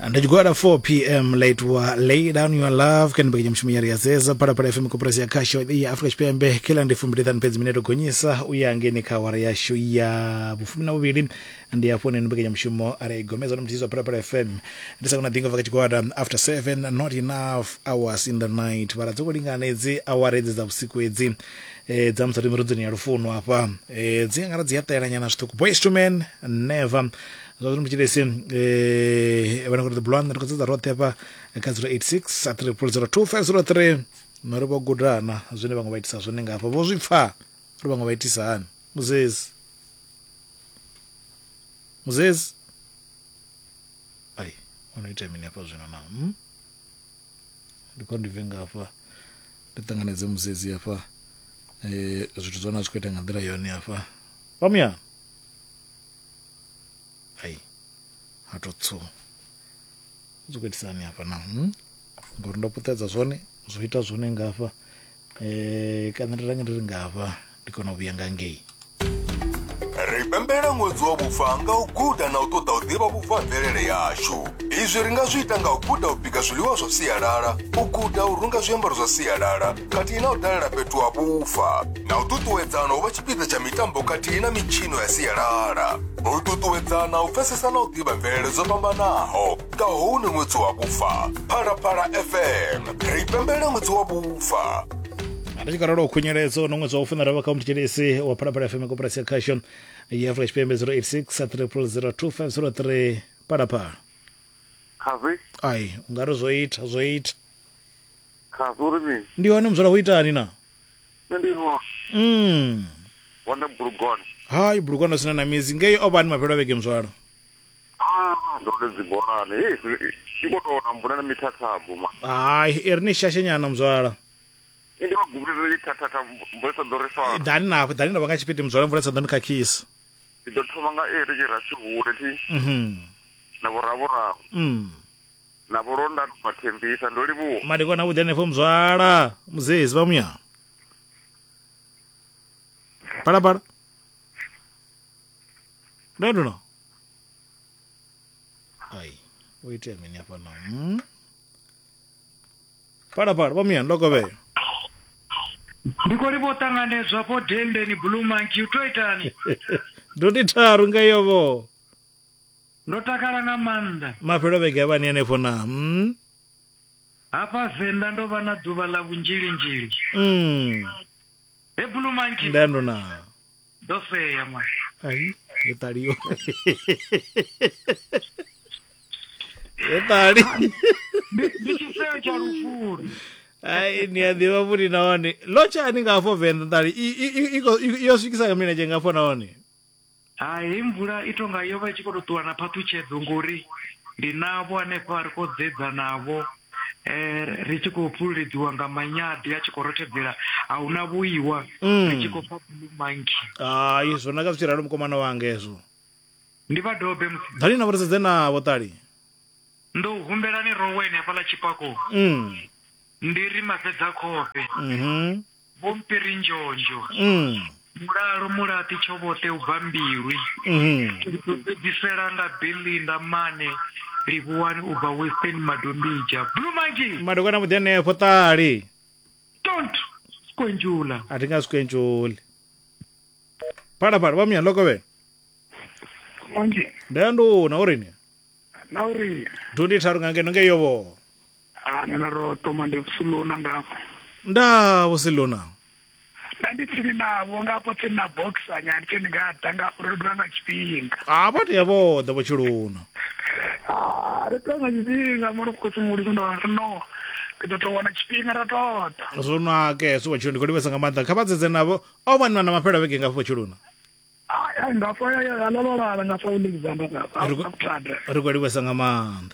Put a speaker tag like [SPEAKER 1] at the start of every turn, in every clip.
[SPEAKER 1] Ndi tshigwada 4 pm ḽa Lay Down Your Love kha mbekanyamushumo ya ri zeza Phalaphala FM koporasi ya khasho ya Afrika Tshipembe. Kheḽa ndi 25 fhedzi minete gonyisa u ya ngeni kha awara yashu ya vhufumi na vhuvhili. Ndi hafho hune mbekanyamushumo ra i gomedza na muthihi wa Phalaphala FM. Ndi sa kona ḓinga bva kha tshigwada after 7, not enough hours in the night. Vhara dzo khou lingana edzi awara edzi dza vhusiku edzi dza musati mirudzoni ya lufuno hafha dzi ngara dzi a ṱela nyana zwiṱuku. Boys to Men Never. Zwa zwino mutshilesi vhana khou ri blonde ri khou dzedza roṱhe hafha kha 086 300 2503 no ri vho gudana zwine vhaṅwe vha itisa zwone nga hafha vho zwi pfa uri vhaṅwe vha itisa hani. Muzezi muzezi ai ono ita mini hafha zwino na Ndi khou ndi bve nga hafha ndi ṱanganedze muzezi hafha zwithu zwone a zwi khou ita nga nḓila yone hafha vha muyani. Ai ha to tsu zwi khou itisa hani hafha na ngori ndo puṱedza zwone zwo ita zwone nga hafha kana ndi range ndi ri nga hafha ndi kona u vhuya nga ngei.
[SPEAKER 2] Ri pembelela ṅwedzi wa vhufa nga u guda na u ṱoḓa u ḓivha vhufa ha mvelele yashu. Izwi ri nga zwi ita nga u guda u bika zwiḽiwa zwa sialala, u guda u runga zwiambaro zwa sialala khathihi na u dalela fhethu ha vhufa, na u ṱuṱuwedzana u vha tshipiḓa tsha mitambo khathihi na mitshino ya sialala. U ṱuṱuwedzana u pfesesa na u ḓivha mvelele dzo fhambanaho nga hounu ṅwedzi wa vhufa. Phalaphala FM, ri pembelela ṅwedzi wa vhufa.
[SPEAKER 1] Ri tshi khou ralo u khunyeledza ono ṅwedzi wa u funa ravha kha mutshilisi wa Phalaphala FM koporasi ya khasho ya Afrika Tshipembe 086 0002503 Phalaphala.
[SPEAKER 3] Khavi.
[SPEAKER 1] Ai, u nga ri zwo ita, zwo ita.
[SPEAKER 3] Khavi uri mini?
[SPEAKER 1] Ndi hone muzwala hu itani na?
[SPEAKER 3] Nṋe ndi hone. Hone Bulugwane.
[SPEAKER 1] Hai, Bulugwane sina na mizi. Ngei o vha ni mafhelo a vhege muzwala.
[SPEAKER 3] Ah, ndo ri dzibolani. Hei, i khou tou na mvula na mithathabo ma.
[SPEAKER 1] Hai, i ri ni shashenyana muzwala.
[SPEAKER 3] Ndi vha gubulele ithathatha mvula sa ḓo ri fara.
[SPEAKER 1] Ḓani na ḓani na vha nga tshipidi muzwala mvula sa ḓo ni khakhisa.
[SPEAKER 3] Ndi ḓo thoma nga eri tshi ra tshihule thi. Na vhuravhuravu. Na vhulonda bva Thembisa ndo livhuwa.
[SPEAKER 1] Madekwana avhuḓi hanefho muzwala. Muzezi vha muya. Phalaphala. Ndo no. Ai, o itea mini hafha na? Phalaphala vha muya ndo kovhela.
[SPEAKER 4] Ndi khou livha u ṱanganedzwa afho dendeni Blue Monkey u to itani?
[SPEAKER 1] Ndo ndi tharu nga iyo vho.
[SPEAKER 4] Ndo takala nga maanḓa.
[SPEAKER 1] Mafhelo vhege a vhani hanefho na?
[SPEAKER 4] Hafha Venḓa ndo vha na ḓuvha ḽa vhunzhilinzhili. He Blue Monkey.
[SPEAKER 1] Nda ndo na.
[SPEAKER 4] Ndo sea ma.
[SPEAKER 1] Ai, yo ṱaliwa. Yo ṱali.
[SPEAKER 4] Ndi tshiseo tsha lufuli.
[SPEAKER 1] Ai, ni a ḓivha futhi nahone. Ḽo tshani nga afho Venḓa ṱali yo swikisa nga milenzhe nga afho nahone.
[SPEAKER 4] Hai, hei mvula i tonga yo vha i tshi khou tou ṱuwa na phaṱhutshedzo ngori ndi navho hanefha ri khou dzedza navho ri tshi khou fhululedziwa nga manyadi a tshi khou rothedzela a huna vhuiwa ri tshi khou pfa Blue Monkey.
[SPEAKER 1] Hai, zwo naka zwi tshi ralo mukomana wanga hezwo.
[SPEAKER 4] Ndi vha dobe musi.
[SPEAKER 1] Ḓani navho ri sedze navho ṱali.
[SPEAKER 4] Ndo humbelani roweni hafhaḽa tshipakoni. Ndi ri mafhedza khofhe. Vho Mpiri Nzhonzho. Mulalo Mulaṱi Tshovhoṱe u bva Mbilwi. Ndi ḓo fhedzisela nga Belinda Mane Livhuwani u bva Western Madombidzha. Blue Monkey!
[SPEAKER 1] Madokwana vhuḓi hanefho ṱali.
[SPEAKER 4] Don't skwenzhula.
[SPEAKER 1] A thi nga skwenzhuli. Phalaphala vha muya ḽo
[SPEAKER 5] Monkey.
[SPEAKER 1] Nda nduna uri ni.
[SPEAKER 5] Na uri.
[SPEAKER 1] Dundi tharu nga ngeno ngeyo vho.
[SPEAKER 5] Ah, nṋe ro thoma ndi Vhusiluna ngafho.
[SPEAKER 1] Nda Vhusiluna.
[SPEAKER 5] Nda ndi tsini navho nga afho tsini na boxer nyana ndi tsini nga ḓa nga afho ri ḓa nga tshifhinga.
[SPEAKER 1] Ah, vha tea vho ḓa vho Tshiluna.
[SPEAKER 5] Ah, ri ḓa nga tshifhinga mara khotsi muli ndo no. Ndi ḓo to wana tshifhinga ra toḓa.
[SPEAKER 1] Zwo naka hezwo vho Tshiluna ndi khou livhesa nga maanḓa kha vha dzedze navho o vha na mafhelo a vhege ngafho vho Tshiluna.
[SPEAKER 5] Ai ngafha ya ya la la la ngafha Alexander ngafha.
[SPEAKER 1] Ri khou livhesa nga maanḓa.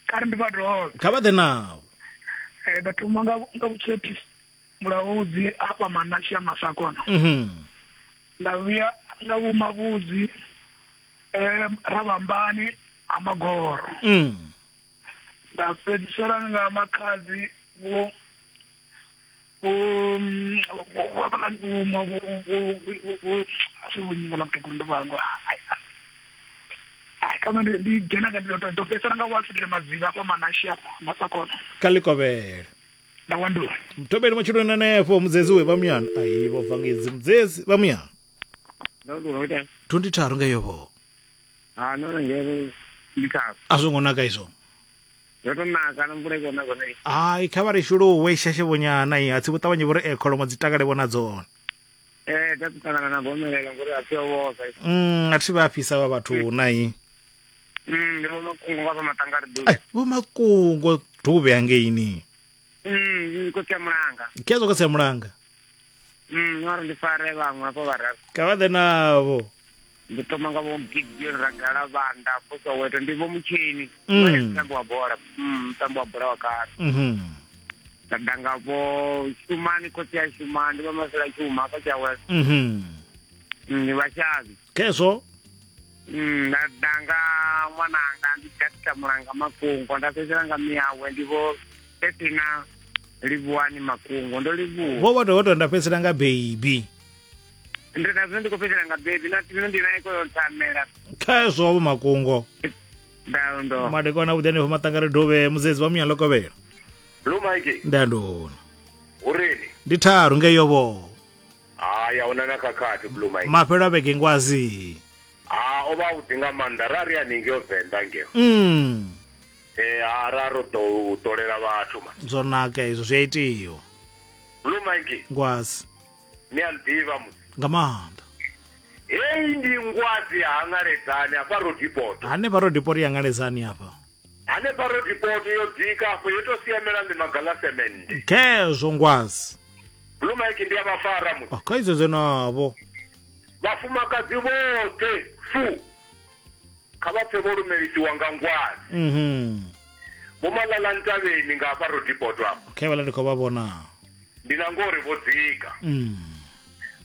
[SPEAKER 5] Kha ri ndi vha dovhe.
[SPEAKER 1] Kha vha ḓe navho.
[SPEAKER 5] Nda thoma nga nga vhutshepi mulaudzi hafha Manashe ya Masakona. Nda vhuya nga vhu Mavhudzi Ravhambani ha Magoro. Nda fhedzisela nga Makhadzi vho vho vho vho asi vho nyimela mutukulu ndo vhangwa. Ai. Kama ndi dzhena nga ndo ndo fhedzisela nga Walfred Madziva afha Manashe afha Masakona.
[SPEAKER 1] Kha ḽikovhele.
[SPEAKER 5] Nda wandula.
[SPEAKER 1] Mthobeli matshudoni hanefho mudzedzi we vha muyani. Ai vho bva ngedzi mudzedzi vha muyani.
[SPEAKER 6] Ndo ndo ita.
[SPEAKER 1] 23 ngeyo vho.
[SPEAKER 6] Ha no ngere ndi kha.
[SPEAKER 1] A zwo ngo naka izwo.
[SPEAKER 6] Zwo to naka na mvula iko naka nei.
[SPEAKER 1] Ai kha vha ri shuluwe shashe vhonyana i a tsi vhuṱavhanye vhori e kholomo dzi takale vhona dzone.
[SPEAKER 6] Eh dza ṱangana na gomelelo ngori a thi vhosa.
[SPEAKER 1] A thi vha fhisa vha vhathu na i.
[SPEAKER 6] Ndi vho makungo nga vha matangari ḓuvha.
[SPEAKER 1] Ai vho makungo duvhe hangeini.
[SPEAKER 6] Ndi khotsi ya mulanga.
[SPEAKER 1] Khezwo khotsi ya mulanga.
[SPEAKER 6] No ri ndi fare vhaṅwe hafho vhararu.
[SPEAKER 1] Kha vha ḓe navho.
[SPEAKER 6] Ndi thoma nga vho Gideon Ragala Vhanda afho Soweto ndi vho Mutsheni. Mutambi wa bola. Mutambi wa bola wa kale. Nda ḓa nga vho Shumani khotsi ya Shumani ndi vha Masela Tshuma hafha Tshiawelo. Ndi Vhashavhi.
[SPEAKER 1] Khezwo.
[SPEAKER 6] Nda ḓa nga ṅwananga ndi Dr Mulanga Makungo nda fhedzisela nga miyawe ndi vho Petina Livhuwani Makungo ndo livhuwa.
[SPEAKER 1] Vho vha to nda fhedzisela nga baby.
[SPEAKER 6] Ndi na zwino ndi khou fhedzisela nga baby na zwino ndi naye koyo nthamela.
[SPEAKER 1] Khezwo vho Makungo.
[SPEAKER 6] Ndao ndo.
[SPEAKER 1] Madekwana vhuḓi hanefho maṱangari dovhe mudzedzi vha muyani ḽo
[SPEAKER 7] Blue Mike.
[SPEAKER 1] Ndandoni.
[SPEAKER 7] Ureni.
[SPEAKER 1] Ndi tharu ngeyo vho.
[SPEAKER 7] Haya una na khakhathi Blue Mike.
[SPEAKER 1] Mafhelo a vhege ngwazi.
[SPEAKER 7] Ha o vha vhuḓi nga maanḓa ra ri haningei Venḓa ngeo. Ha ra ro ḓo u ṱolela vhathu ma.
[SPEAKER 1] Zwo naka izwo zwi a itiwa.
[SPEAKER 7] Blue Mike.
[SPEAKER 1] Ngwazi.
[SPEAKER 7] Ni a nḓivha musi.
[SPEAKER 1] Nga maanḓa.
[SPEAKER 7] Heyi ndi ngwazi ya Hangaledzani hafha Rodipoto.
[SPEAKER 1] Hanefha Rodipoto ya Hangaledzani hafha.
[SPEAKER 7] Hanefha Rodipoto yo dzika afho yo to siamela ḽimaga ḽa semende.
[SPEAKER 1] Khezwo ngwazi.
[SPEAKER 7] Blue Mike ndi a vha fara musi.
[SPEAKER 1] Kha izwo navho.
[SPEAKER 7] Vhafumakadzi vhoṱhe fu kha vha pfe vho lumelisiwa nga ngwazi. Vho Malala Ntabeni nga hafha Rodipoto afha.
[SPEAKER 1] Khe vhala ndi khou vha vhona.
[SPEAKER 7] Ndi na ngori vho dzika.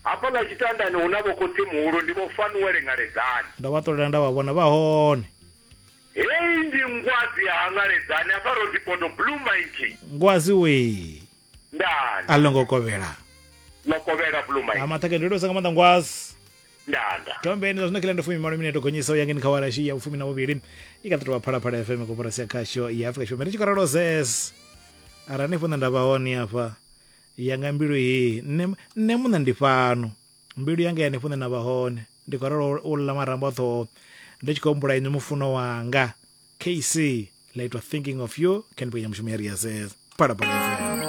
[SPEAKER 7] Hafha ḽa tshitandani hu na vho khotsi muhulu ndi vho Fanuele Ngaledzani.
[SPEAKER 1] Ndo vha ṱolela nda vha vhona vha hone.
[SPEAKER 7] Heyi ndi ngwazi ya Hangaledzani hafha Rodipoto Blue Mike.
[SPEAKER 1] Ngwazi we.
[SPEAKER 7] Ndani.
[SPEAKER 1] A longo kovhela.
[SPEAKER 7] Ḽo kovhela Blue Mike.
[SPEAKER 1] Ha maṱhake ndi livhusa nga maanḓa ngwazi.
[SPEAKER 7] Ndanda.
[SPEAKER 1] Tombeni zwa zwino kila ndi 18 minete gonyisa u ya ngeni kha awara ya 12 i kha ḓi tovha Phalaphala FM koporasi ya khasho ya Afrika Tshipembe. Ndi tshi khou ralo zes. Arali hanefho nṋe nda vha hone hafha yanga mbilu heyi nṋe nṋe muṋe ndi fhano mbilu yanga ya hanefho nṋe nda vha hone ndi khou ralo u ḽa marambo a ṱhoho ndi tshi khou humbula inwi mufuno wanga KC ḽa itwa thinking of you kha ndivho ya mushumo ya ri ya zes Phalaphala FM.